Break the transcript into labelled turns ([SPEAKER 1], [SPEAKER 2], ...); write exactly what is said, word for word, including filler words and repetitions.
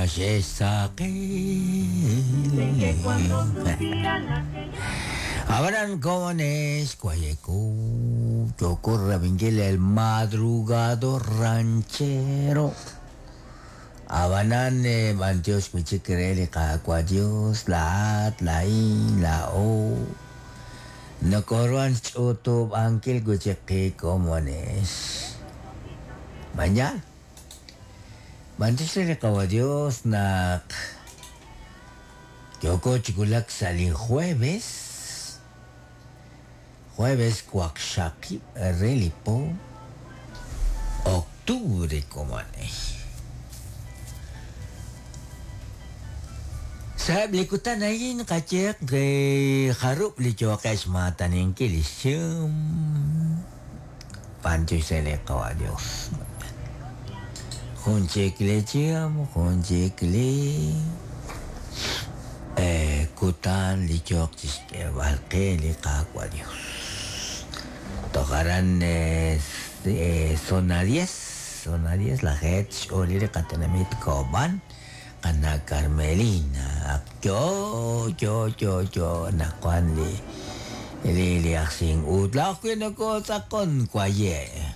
[SPEAKER 1] Que cuando supieran
[SPEAKER 2] Habrán comones, Guayecu, Yocorra Vinguel, el madrugador ranchero. Abanan, Bantios, Michikreli, Cacua Dios, la At, la In, la O. No corban chutu, Anquil, Guchequi, comones. Mañana. Bantios, Cacua Dios, Nak. Yoko Chikulak sali jueves. Jueves Cuaxaqui, Relipo, octubre, comane. Saab likutan ayin kachek ke harup li chokesh matanin kilishum. Pancho se le kawa Dios. Junchikle chiam, junchikle. Eh, kutan li chok balke li kakwa Dios. Tocarán eh, eh, zona diez, zona diez, la het, olire katenamit koban, kana Carmelina, yo, yo, yo, yo, nakuan li, li, li aksin utla, ko sakon kwaye.